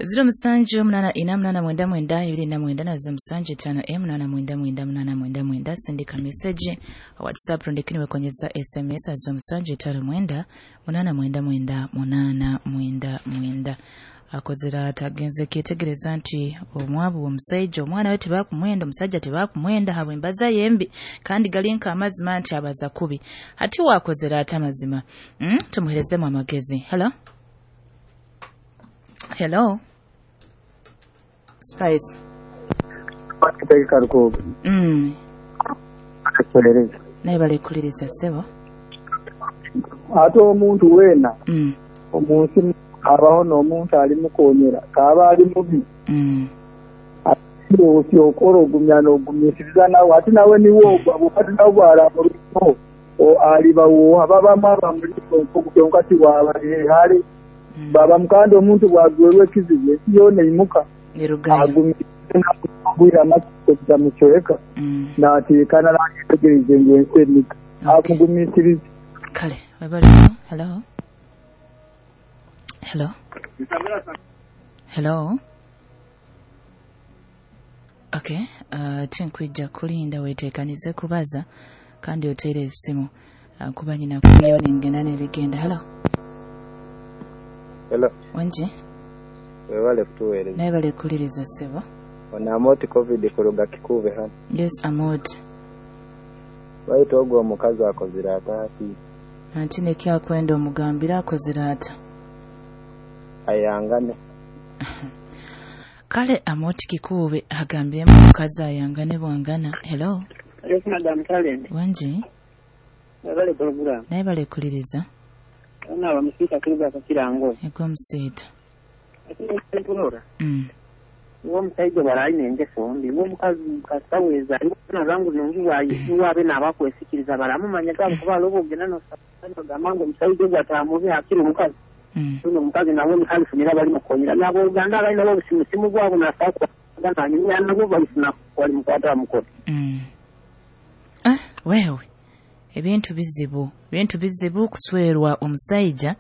07848999 na 0758999899. Sindika message WhatsApp rundi wekonyeza SMS 0759 899 899. Akozera atagenze kyetegereza nti omwabu omusajja omwana we tebakumwenda, omusajja tebakumwenda habw'embaza yembi, kandi galinka amazima nti abaza kubi. Hati wakozera ata amazima? Tumuherezemu amagezi. Hello? Hello? Spice. Naye balekuliriza ssebo. Ate omuntu weena omunsi abaho n'omuntu ali mukonyera kaaba ali mubi. Ati okora ogumya n'ogumisiriza nawe ate nawe niwe ogwa bukati nawe bwaramuliko alibawo ababamu abamuliko nkokukyonka tiwabalihale baba mukandi omuntu bwagwerwa ekizibu ensi yoona eimuka agumira amakuta mukyoleka n'ateekana n'ayetegereze ngu ensi emiga amugumisirize. Kale webaleko. Hello? Hello? Hello? Okay, tinkwija kulinda weteekanize kubaza kandi oteere essimu kuba nyina kuyo nengenda n'ebigenda. Hello? Hello. Wanji? Webale kutuweereza. Naye balekuliriza ssebo. Ono Amoti COVID kuruga Kikuube hano. Yes, Amoti. Baitu ogwo omukazi akozire ata ati? Anti nekyakwenda omugambira akozire ata? Ayangane. Kale Amoti Kikuube agambyemu omukazi ayangane bwangana. Hello? Yes, Madam Talent. Wanji? Webale program. Naye balekuliriza. Ona bamusiita kuruga Kakirango. Ego musiita. Uwo musajja bw'alina engeso mbi, uwo mukazi kasaweza nabangu nungi wabe n'abakwesikiriza baramumanya gabo kuba alobo ogenda n'osanga ngu omusajja ogwo atamubi akiri omukazi. Ono omukazi nawe mukalifunira bali mukonyera n'abooluganda abalina bo obusimusimu bwabo nasakugananyumya nabo balifuna wali mukwata mukono. Wewe ebintu bizibu kuswerwa omusajja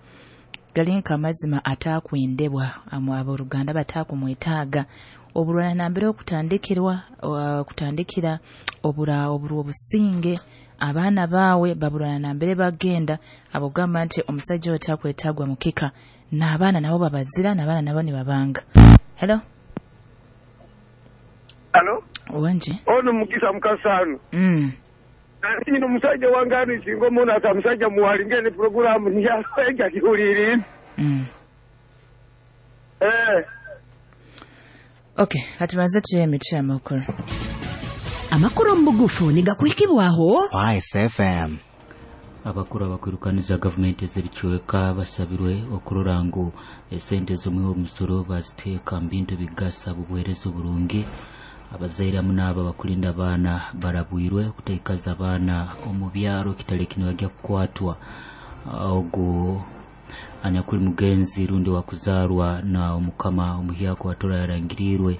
galinka amazima atakwendebwa abooluganda batakumwetaaga obulwana nambere okutandikira obura obusinge abaana baawe babulwana nambere bagenda abogamba nti omusajja oyo takwetaagwa mukika n'abaana nabo babazira n'abaana nabo ne babanga. Hello? Hello? Wanje? Ono Mukisa Mukasano. Nino musajja wange ano singa omuntu ata musajja muwali ngene programu nyasenga kiwuliri. Okay, katubanze tuye emiti amakulu. Amakulu mu bugufu nigakuhikibwaho Spice FM. Abakuru abakwirukaniza gavumenti ez'ebicweka basabirwe okurora ngu esente z'omuwi w'omusoro baziteeka mu bintu ebigasa obuheereza oburungi. Abazaire hamu n'abo abakulinda abaana barabwirwe okutaikaza abaana omu byaro kitali kinibajya kukwatwa. Ogu anyakuli mugenzi rundi wakuzaarwa na omukama omuhyako watora yarangirirwe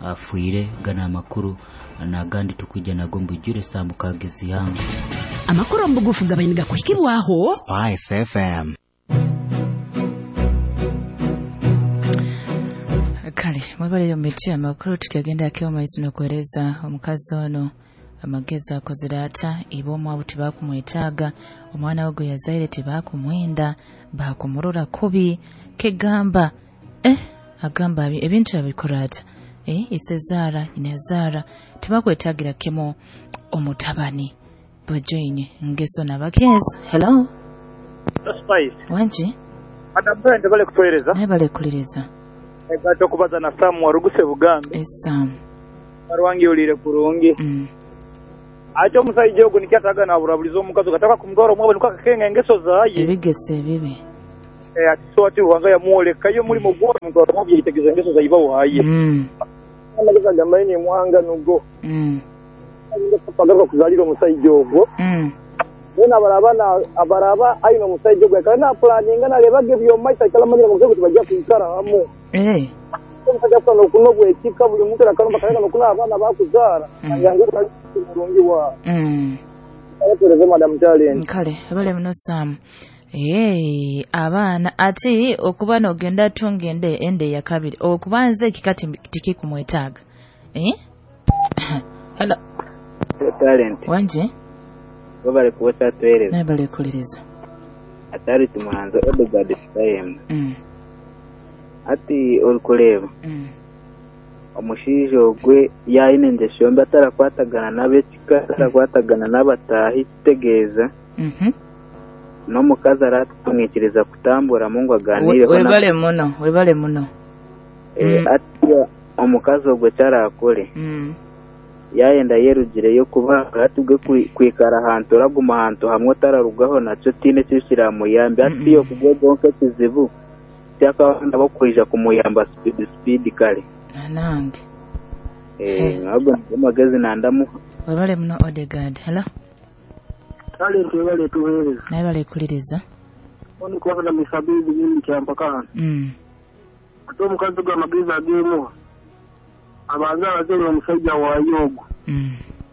afiire. Gana amakuru n'agandi tukwijja nago mbujjure saa mukaaga ez'ihangwe. Amakuru mu bugufu gabaine gakuhikibwaho Spice FM. Kale mwebaleyo miti amakulu tukyagenda akeo maiso n'okuweereza omukazi ono amagezi akozere ata iba omwabu tebakumwetaaga, omwana we gwe yazaire tebakumwenda, bakumurora kubi kegamba agamba ebintu abikora ata isezaara nyinazaara tebakwetaagira kimu omutabani bojoine ngeso nabakezo. Hello? Spice. Wanji? Madam Talent bale kutuweereza. Naye balekuliriza. Egato kubaza na Sam waruguse Bugambe. Sam. Barwangi ulire kurungi. Acho omusajja ogwo nikyataga naburabuliza omukazi gataka kumutwara omwabo niko akakenga engeso zaye. Ebigese ebibi. Ati so ati Ruhanga yamuoleka yo mulimo gwo mutwara omwabo yitegeza engeso zaiba waye. Amagezi agamba ni muhanga nugo. Pagaruka kuzalira omusajja ogwo. Bona abaraba aina omusajja ogwo akaba napulaninga nalebaga ebyomaisa akalamanyira mu kuti bajja kwikara hamu. Omusajja afuna okunobwa ekika buli muntu akalomba kaleka nokuna abaana bakuzaara yange mulungi wa. Abatereze Madam Talent. Kale abale muno Sam. Abaana ati okuba n'ogenda tunga ende ya kabiri okubanza ekika tikikumwetaaga. Hello. Talent. Wanje. Webale kuwesa tuweereza. Webale kuliriza. Atari tumuhanze Odegaard Sitayemu. Ati orikureba. Omushaija ogwe yaine engesho mbi atarakwatagana n'ab'ekika, atarakwatagana n'abataahi kitegeeza. N'omukazi aratumwikiriza kutambura Mungu aganireho. Webale muno, webale muno. Ati omukazi ogwe kyarakore. Yayenda yerugireyo kuba atubwe kwikara ahantu oraguma ahantu hamwe otararugaho nakyo tiine kiramuyambi. Ati okugwe ekizibu kyakabanda bakwija kumuyamba speed kale. Nange. Nabwo amagezi nandamu. Webale muno Odegaard. Hello. Talent webale tuweereza. Naye bale kuliriza. Oni kwabana misabizi nyingi kyampaka hano. Ate omukazi gw'amagezi ageemuha abanza abazere omusajja waayo ogwo.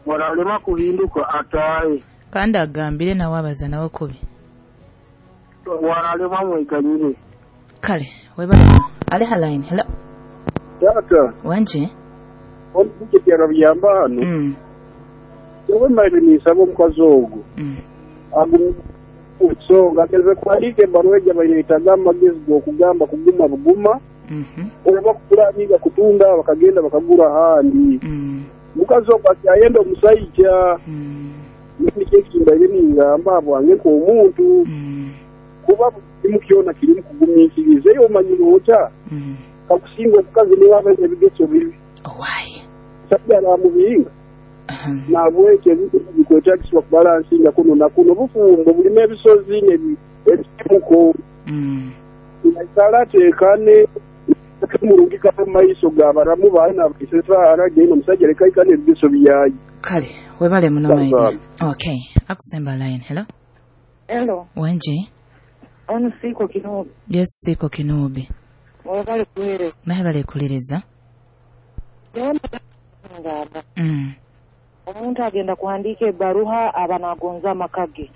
Waralema kuhinduka ataaye. Kandi agambire nawe abaza nawe kubi. Waralema mweganyire. Kale webale. Ali haline. Hello. Tata. Wanje. Oni kukyera byamba hano. Yewe mali nisaba omukazi ogwo. Agumusonga ageze kuhandika ebbaluwa ejja bayetaga amagezi g'okugamba kuguma buguma. Oba kukulaninga kutunda bakagenda bakagura ahandi. Mukazi ogwo akyayenda omusajja. Nikyo ekimbaire ningamba bwange nk'omuntu. Kuba kimu kyona kirimu kugumiikiriza eyo omanyire ota. Kakusinga omukazi niwe aba ebigeso bibi. Owaaye. Musajja aramubinga. Nabwekyo ebintu bikwetagisibwa kubalansinga kuno na kuno. Obufumbo bulimu ebisozi n'ebimuko. Naikara ateekane murungi mu maiso g'abaramu baana baisesa aragenda omusajja leka aikane ebigeso byayi. Kale webale muno maida. Okay, akusemba line. Hello. Hello. Wanje. Ono siko Kinubi. Yes, siko Kinubi. Webale kuweereza. Naye bale kuliriza. Omuntu agenda kuhandika ebbaruha aba nagonza amaka ge.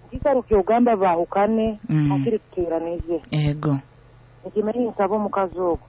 Nkikaruka ogamba baahukane akiri tuteeranize. Ego. Nkimanyi nsaba omukazi ogwo.